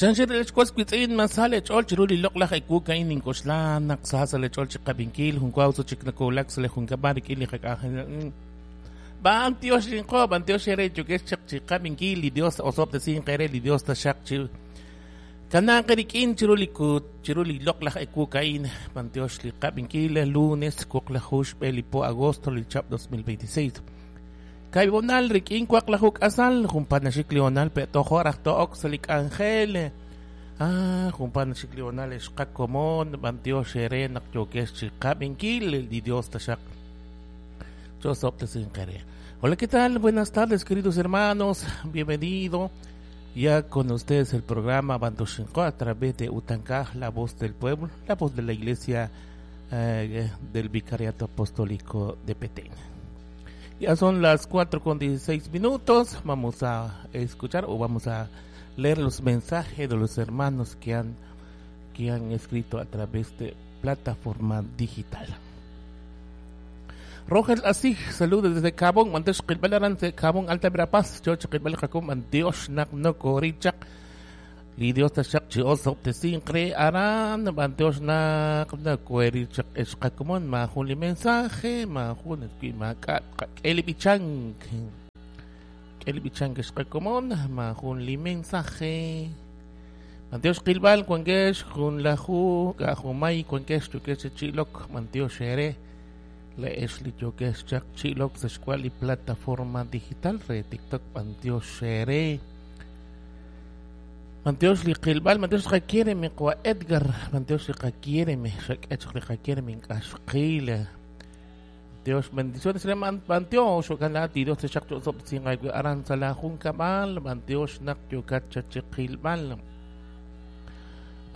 Chanxir lechwas witz'in masale ch'ol chiru li loq'laj ewu ka'in ninkoxla naq sa sa lech'ol chiqab'inkil jun waw so chik nakoolak sa le junkab'al rik'in li qak'anjel. B'antiox inqo, b'antiox ere yokex chaq chiqab'inkil li Dios osob'tesin qere li Dios taxaq chi kanaan qerik'in chiru li kut chiru li loq'laj ewu ka'in b'antiox li qab'inkil lunes wuqlaju xb'e li po agosto li chab 2026. Kaibonal rik'in waqlaju k'asal jun panaxik li honal pe'tojo raj to'ok sa li k'anjel. Ah, jun panaxik li honal xqakomon b'antiox ere naq yokex chiqab'inkil li Dios taxaq. Hola, ¿qué tal? Buenas tardes, queridos hermanos. Bienvenido ya con ustedes el programa Bandoshinko a través de Utancaj, la voz del pueblo, la voz de la iglesia del Vicariato Apostólico de Petén. Ya son las 4:16. Vamos a escuchar o vamos a leer los mensajes de los hermanos que han escrito a través de plataforma digital. Roger Asig, saludos desde Cabón, Mantesh Qilbalaran, Cabón, Alta Verapaz, Choch Qilbal Jacum, Dios Nak no Korichak, li Dios tashak chi osop te sincre aran, Dios nak no Korichak, Eshkakumon, ma jun li mensaje, ma jun ma ka Kelibichan, Kelibichan Eshkakumon, ma jun li mensaje. Dios Qilbal, Cuangesh, Jun Lahu, Gajumay, Cuangesh, Chukesh, Chilok, Dios Shere. Le Esli Yokesh Chak Chilok Sexcual y plataforma digital re TikTok Mantios Shere Mantios Liqilbal Mantios requiere mi Edgar Mantios requiere mi requiere mi Ashqila Dios bendiciones le Mantios ojalá Dios te chak sop sin aran sala jun kamal Mantios nak yokat chachiqilbal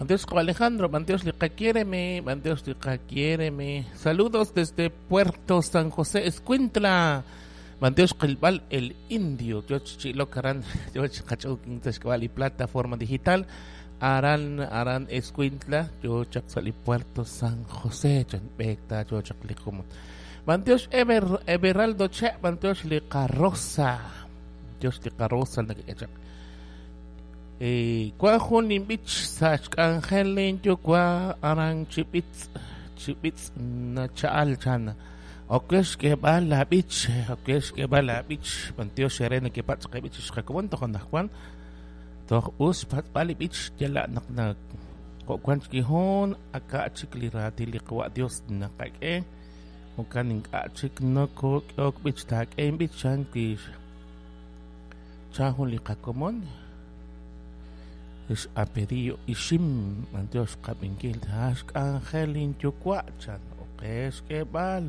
Dios Alejandro, Dios quiéreme, Dios quiéreme. Saludos desde Puerto San José, Escuintla. Dios Qilbal el Indio, Dios Chilocaran, Dios y plataforma digital. Aran Aran Escuintla, yo Chaxali Puerto San José, Chanbecta, yo Chaclicumo. Dios Ever Everaldo Che, Dios Licarrosa, Dios Licarrosa, Kwa jun inbich sach angelin yo kwa aran chipitz chipitz na chaal chan okesh que va la bich okesh que va la bich pantio serena que pats que bich xakon to kon Juan to us pat bali bich yala nak nak ko kwan kihon aka chikli rati liqwa Dios nakake okan inka chik no ko ok bich tak en bich chan ki chahun liqakomon es apedillo ishim Dios kabinkil hash angelin yukwachan okesh kebal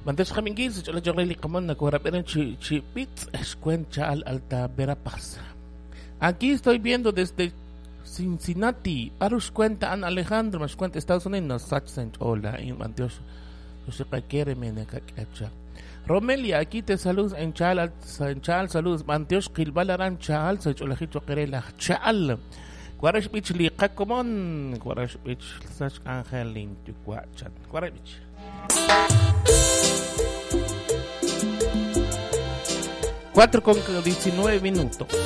Mantes kabinkil sa chola chola likamon na kuharapin chi chipit escuencha al Alta Verapaz. Aquí estoy viendo desde Cincinnati, Arush cuenta an Alejandro, mas cuenta Estados Unidos, sach hola in Dios quiere menekacha. Romelia, aquí te saludos en Chal, saludos, Manteos Kilbalaran Chal, Sacholajito Querela, Chal, Guarash Bich Liqakomon, Guarash Bich, Sach Angelin, Tucuachan, Guarash Bich. 4:19.